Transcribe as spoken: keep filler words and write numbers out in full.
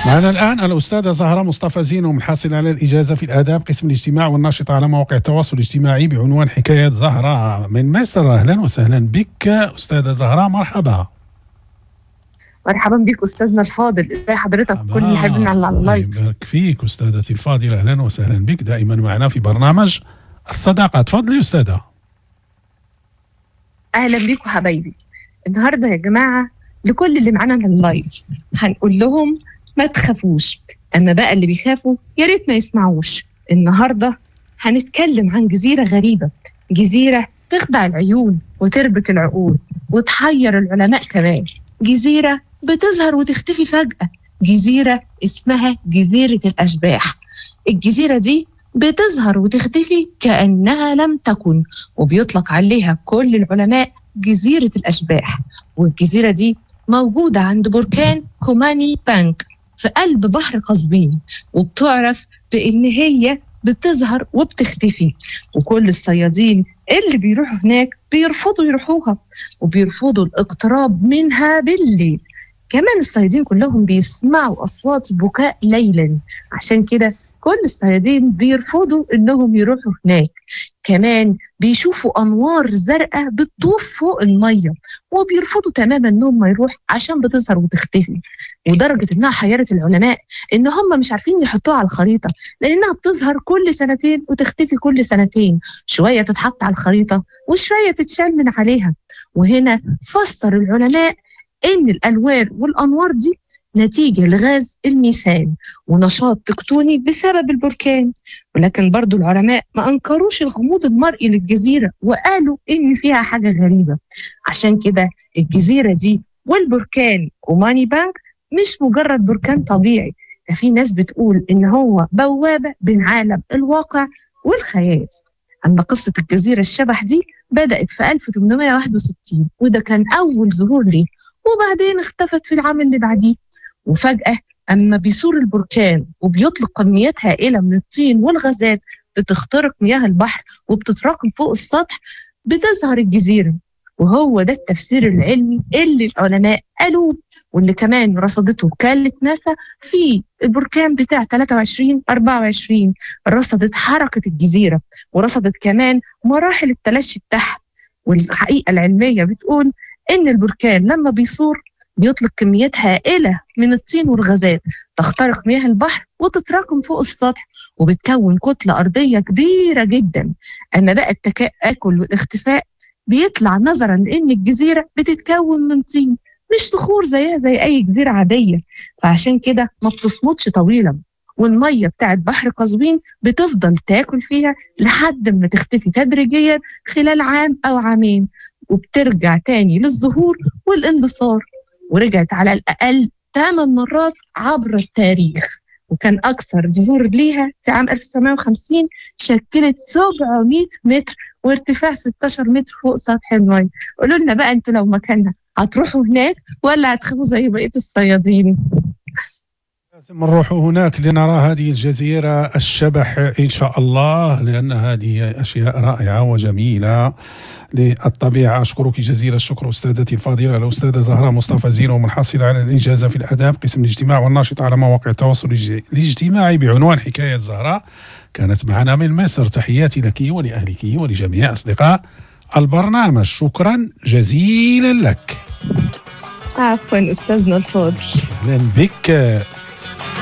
معنا الآن الأستاذة زهرة مصطفى زينو، الحاصلة على الإجازة في الآداب قسم الاجتماع والناشطة على مواقع التواصل الاجتماعي بعنوان حكايات زهرة من مصر. أهلا وسهلا بك أستاذة زهرة، مرحبا. مرحبا بك أستاذنا الفاضل، ازي حضرتك؟ كل اللي حابين على الله ال live. يبارك فيك أستاذتي الفاضلة، أهلا وسهلا بك دائما معنا في برنامج الصداقة. تفضلي أستاذة. أهلا بيكم حبايبي. النهارده يا جماعة لكل اللي معانا على ال live هنقول لهم ما تخافوش، أما بقى اللي بيخافوا يا ريت ما يسمعوش. النهارده هنتكلم عن جزيرة غريبة، جزيرة تخدع العيون وتربك العقول وتحير العلماء كمان، جزيرة بتظهر وتختفي فجأة، جزيرة اسمها جزيرة الأشباح. الجزيرة دي بتظهر وتختفي كأنها لم تكن، وبيطلق عليها كل العلماء جزيرة الأشباح. والجزيرة دي موجودة عند بركان كوماني بانك في قلب بحر قزوين، وبتعرف بإن هي بتظهر وبتختفي، وكل الصيادين اللي بيروحوا هناك بيرفضوا يروحوها وبيرفضوا الاقتراب منها بالليل. كمان الصيادين كلهم بيسمعوا أصوات بكاء ليلا، عشان كده كل الصيادين بيرفضوا إنهم يروحوا هناك. كمان بيشوفوا أنوار زرقاء بتطوف فوق المية وبيرفضوا تماما إنهم ما يروح عشان بتظهر وتختفي. ودرجة إنها حيرت العلماء إن هم مش عارفين يحطوها على الخريطة، لأنها بتظهر كل سنتين وتختفي كل سنتين، شوية تتحط على الخريطة وشوية تتشال من عليها. وهنا فسر العلماء إن الألوان والأنوار دي نتيجة لغاز الميثان ونشاط تكتوني بسبب البركان. ولكن برضو العلماء ما أنكروش الغموض المرئي للجزيرة وقالوا إن فيها حاجة غريبة. عشان كده الجزيرة دي والبركان كوماني بانك مش مجرد بركان طبيعي، ده في ناس بتقول إن هو بوابة بين عالم الواقع والخيال. أما قصة الجزيرة الشبح دي بدأت في ألف وثمانمائة وواحد وستين، وده كان أول ظهور ليه، وبعدين اختفت في العام اللي بعديه. وفجأة أما بيثور البركان وبيطلق كميات هائلة من الطين والغازات بتخترق مياه البحر وبتتراكم فوق السطح، بتظهر الجزيرة. وهو ده التفسير العلمي اللي العلماء قالوه، واللي كمان رصدته وكالة ناسا في البركان بتاع ثلاثة وعشرين أربعة وعشرين. رصدت حركة الجزيرة ورصدت كمان مراحل التلاشي بتاعها. والحقيقة العلمية بتقول إن البركان لما بيثور بيطلق كميات هائلة من الطين والغازات تخترق مياه البحر وتتراكم فوق السطح وبتكون كتلة أرضية كبيرة جدا. أما بقى التآكل والاختفاء بيطلع نظرا لأن الجزيرة بتتكون من طين مش صخور زيها زي أي جزيرة عادية، فعشان كده ما بتصمتش طويلا، والمية بتاعت بحر قزوين بتفضل تاكل فيها لحد ما تختفي تدريجيا خلال عام أو عامين، وبترجع تاني للظهور والاندثار. ورجعت على الأقل ثمان مرات عبر التاريخ، وكان أكثر ظهور ليها في عام ألف وتسعمائة وخمسين، شكلت سبعمائة متر وارتفاع ستة عشر متر فوق سطح الماء. قولوا لنا بقى أنتوا لو مكاننا هتروحوا هناك ولا هتخافوا زي بقية الصيادين؟ لازم نروح هناك لنرى هذه الجزيرة الشبح إن شاء الله، لأن هذه أشياء رائعة وجميلة للطبيعة. أشكرك جزيل الشكر أستاذتي الفاضلة الأستاذة زهرة مصطفى زينو، منحصلة على الإجازة في الآداب قسم الاجتماع والناشطة على مواقع التواصل الاجتماعي بعنوان حكاية زهرة، كانت معنا من مصر. تحياتي لك ولأهلك ولجميع أصدقاء البرنامج، شكرا جزيلا لك. عفوا أستاذنا الفاضل. أهلا بك.